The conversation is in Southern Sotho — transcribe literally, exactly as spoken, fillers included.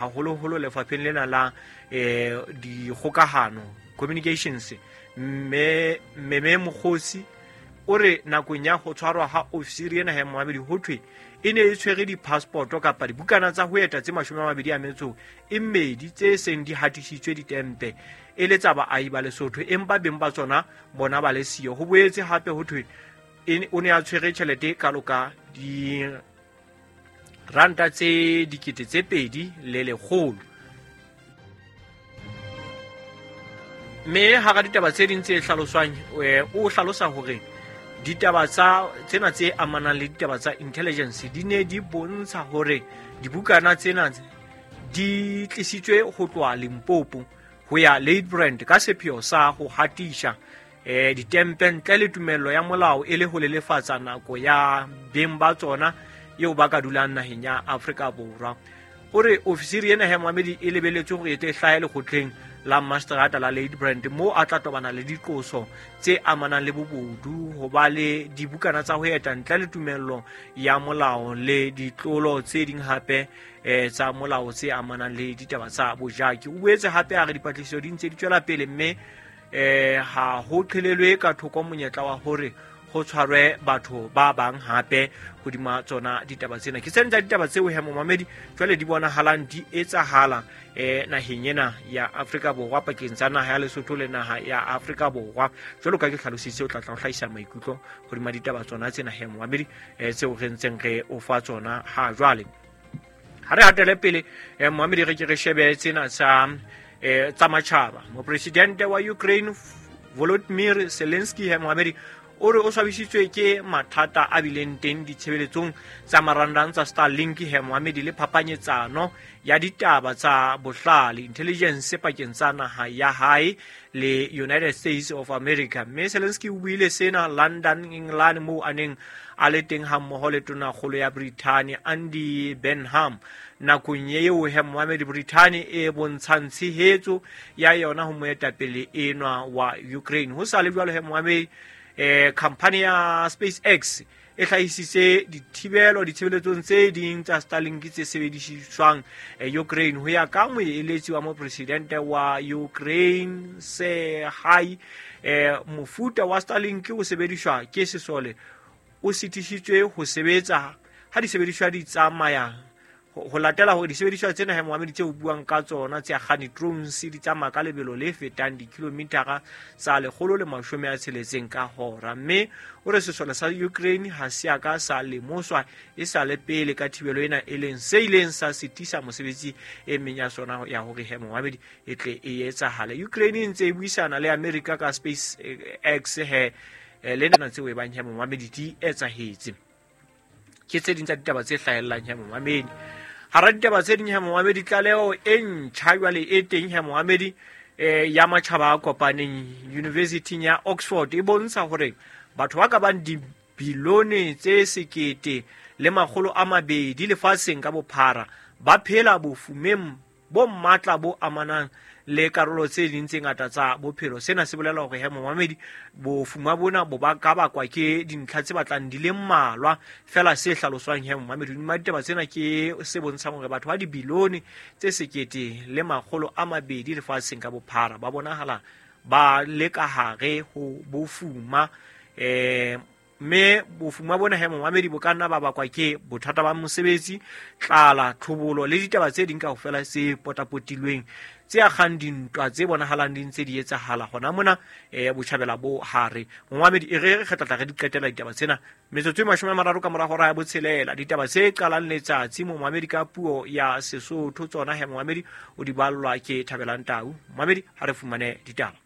Haholoholo lefapheng lena la eh dikgokahano, communications, mme Meme Mokgosi o re nakong ya ho tshwarwa ha ofisiri ena he momamedi ho thwe e ne e tshwere di-passport kapa dibukana tsa ho eta tse mashome a mabedi a metso e mmedi tse seng di hatisitswe ditempe e le tsa baahi ba Lesotho, empa beng ba tsona bona ba le siyo. Ho boetse hape ho thwe o ne a tshwere tjhelete kalo ka di ranta tse dikete tse pedi le lekgolo. Mme hara ditaba tse ding tse hlaloswang, o hlalosa hore ditaba tsa tsena tse amanang le ditaba tsa intelligence di ne di bontsha hore dibukana tsena di tlisitswe ho tloha Limpopo ho ya Ladybrand ka sepheo sa ho hatisha eh ditempe ntle le tumello ya molao e le ho lelefatsa nako ya beng ba tsona eo ba ka dulang naheng ya Afrika Borwa. O re ofisiri ena he momamedi e lebeletswe hore e tle hlahe lekgotleng la mastrata la Ladybrand moo a tla tobana le diqoso tse amanang le bobodu, ho ba le dibukana tsa ho eta ntle le tumello ya molao le ditlolo tse ding hape eh tsa molao tse amanang le ditaba tsa bojaki. O boetse hape a re dipatlisiso di ntse di tswela pele mme eh ha ho qhelelwe ka thoko monyetla wa hore ho tshwarwe batho ba bang hape hodima tsona ditaba tsena. Ke tsena tsa ditaba tseo he momamedi jwale di bonahalang di etsahala eh naheng ena ya Afrika Borwa, pakeng tsa naha ya Lesotho le naha ya Afrika Borwa. Jwalo ka ke hlalositse, o tla tla ho hlahisa maikutlo hodima ditaba tsona tsena he momamedi eh tseo re ntseng re o fa tsona ha jwale. Ha re hatele pele eh momamedi, re ke re shebe tsena tsa eh tsa matjhaba. Mopresidente wa Ukraine Volodymyr Zelensky he momamedi o re o swabisitswe ke mathata a bileng teng ditshebeletsong tsa marangrang tsa Starlink he momamedi le phapanyetsano ya ditaba tsa bohlale intelligence pakeng tsa naha ya hae le United States of America. Mme Zelensky o buile sena London, England, moo a neng a le teng hammoho le tonakgolo ya Britain Andy Burnham nakong eo he momamedi Britain e bontshang tshehetso ya yona ho moetapele enwa wa Ukraine. Ho sa le jwalo he momamedi, eh company ya SpaceX e hlahisitse dithibelo ditshebeletsong tse ding tsa Starlink tse sebediswang Ukraine ho ya ka moeletsi wa mopresidente wa Ukraine Serhii. Eh mofuta wa Starlink o sebediswa ke sesole o sitisitswe ho sebetsa ha disebediswa di tsamaya ho latela hore disebediswa tsena he momamedi tse o buang ka tsona tse akgane drones di tsamaya ka lebelo le fetang dikilomitara tsa lekgolo le mashome a tsheletseng ka hora. Mme o re sesole sa Ukraine ha se a ka sa lemoswa e sa le pele ka thibelo ena, e leng se ileng sa sitisa mosebetsi e meng ya sona ya hore he momamedi e tle e etsahale. Ukraine e ntse e buisana le America ka SpaceX he le nna tseo e bang he momamedi di etsahetse. Ke tse ding tsa ditaba tse hlahellang he momamedi. Hara ditaba tse ding he momamedi, tlaleho e ntjha jwale e teng he momamedi eh ya matjhaba a kopaneng University ya Oxford e bontsha hore batho ba ka bang dibilione tse sekete le makgolo a mabedi lefatsheng ka bophara ba phela bofumeng bo matla bo amanang le karolo tse ding tse ngata tsa bophelo. Sena se bolela hore he momamedi bofuma bona bo ba ka bakwa ke dintlha tse batlang di le mmalwa fela. Se hlaloswang he momamedi hodima ditaba tsena ke se bontshang hore batho ba dibilione tse sekete le makgolo a mabedi lefatsheng ka bophara ba bonahala ba le ka hare ho bofuma eh mme bofuma bona he momamedi bo ka nna ba bakwa ke bothata ba mosebetsi, tlala, tlhobolo le ditaba tse ding kaofela tse potapotilweng tse akgang dintwa tse bonahalang di ntse di etsahala hona mona eh botjhabela bo hare. Momamedi e re re tla re di qetela ditaba tsena metsotso e mashome a mararo ka mora hora ya botshelela. Ditaba tse qalang letsatsi momamedi ka puo ya Sesotho tsona he momamedi o di ballwa ke Thabelang Tau. Momamedi ha re fumane ditaba.